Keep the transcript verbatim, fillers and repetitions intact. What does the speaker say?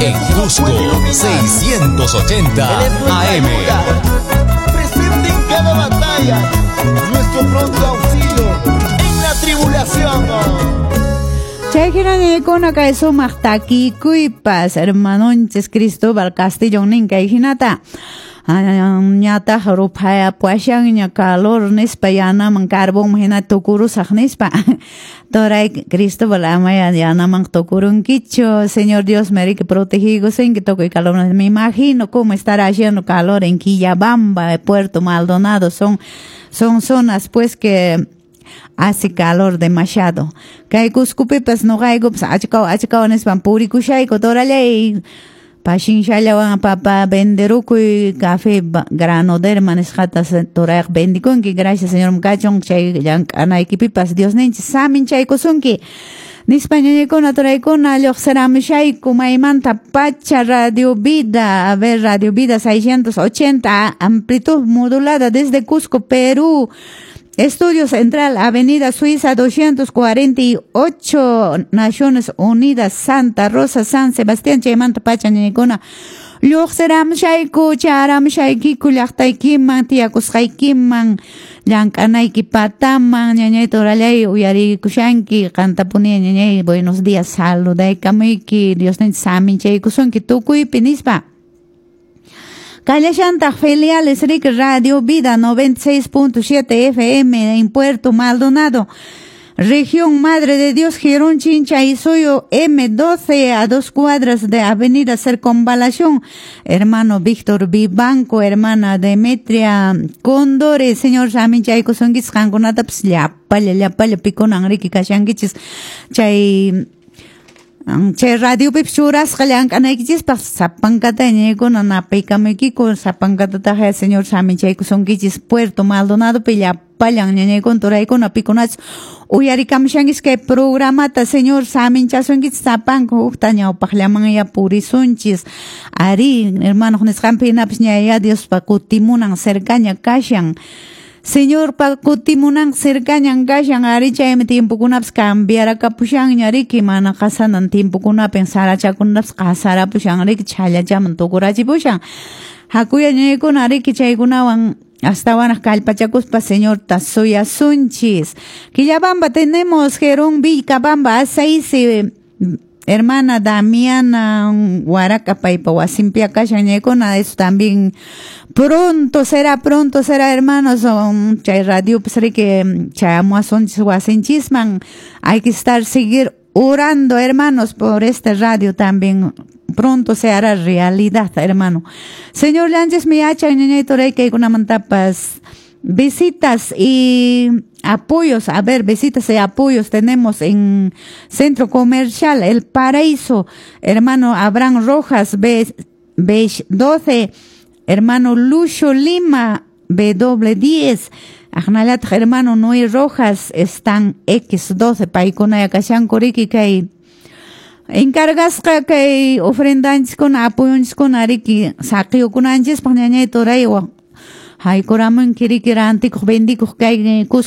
En Cusco Cusco, seiscientos ochenta A M. Presente en cada batalla, nuestro pronto auxilio en la tribulación. Chay hina kay sumaq takikuypas hermanonchis Cristóbal Castillo nin kay hinata: "Ñataq ruphayapushanña calor nispa, yanaman carbón hina tukurusaq", nispa. Toray Cristóbal, amaya yanaman tukurunkichu. Señor Dios merike protegiykusunki tukuy calor. Me imagino cómo estará haciendo calor en Quillabamba, Puerto Maldonado. Son son zonas, pues, que hace calor demasiado. Kay Cuscopipas nuqaykupas achkaw achkaw nispan purikushayku. Torallay, pashinshallawan papa venderukuy, café granoderma nisqata torayqa vendikunki. Gracias Señor kachun chay llank'anaykipipas, Diosninchis saminchaykusunki nispa. Ñañaykuna, toraykuna, lluqsiramushayku maymanta pacha Radio Vida, a ver, Radio Vida seiscientos ochenta amplitud modulada desde Cusco, Perú. Estudio Central, Avenida Suiza doscientos cuarenta y ocho, Naciones Unidas, Santa Rosa, San Sebastián. Chaymanta pacha, ñañaykuna, lluqsiramushayku, charamushaykiku llaqtaykiman, tiyakusqaykiman, llank'anayki pataman. Ñañay torallay, uyarikushanki, qantapuni, ñañay, buenos días, saludaykamuyki, Diosninchis saminchaykusunki tukuypi nispa. Kallashantaq filiales Rick Radio Vida noventa y seis punto siete F M en Puerto Maldonado, Región Madre de Dios, Girón Chinchaysuyo M doce, a dos cuadras de Avenida Circunvalación. Hermano Víctor Vivanco, hermana Demetria Condore, Señor saminchaykusunkichis qankunatapas llapalla, llapalla pikunan riki kashankichis chay chay radiopipas churasqa llank'anaykichispaq. Sapankata, ñañaykuna, napaykamuykiku sapankatataq. Señor saminchaykusunkichis Puerto Maldonadopi llapallan ñañaykuna, turaykuna, pikunachus uyarikamushankichis kay programata. Señor saminchasunkichis sapanka. Hukta ñawpaqllamanya purisunchis. Ari, hermano nisqanpi hinapas, ñaya Diospa kutimunan cercaña kashan. Señorpa kutimunan cercañan kashan. Ari, chaymi tiempokunapas cambiarakapushanña riki, mana qasanan tiempokunapin sarachakunapas qasarapushan riki, chhallachaman tukurachipushan. Hakuya, ñañaykuna, riki chaykunawan astawanaq kallpachakuspa Señorta suyasunchis. Quillabamba tenemos Jerón Vilcabamba A seis, hermana Damiana Huaraca paypa wasinpi kashan, ñañaykuna. Eso también pronto será, pronto será, hermanos. Chay radio pues riki chayamuwasunchis wasinchisman. Hay que estar, seguir orando, hermanos, por este radio también. Pronto se hará realidad, hermano. Señor Lanches mi yachan, ñañay toray, kaykunamantapas visitas y apoyos. A ver, visitas y apoyos tenemos en Centro Comercial El Paraíso, hermano Abraham Rojas, B, B doce, hermano Lucho Lima, W diez, aqnallataq hermano Noé Rojas, están X doce, paykuna kashanku riki kay encargasqa kay ofrendanchiskuna, apoyonchiskuna riki saqiyukunanchispaq. Ñañay toraywan haykuramunki riki rantikuq vendikuq kay Cusco.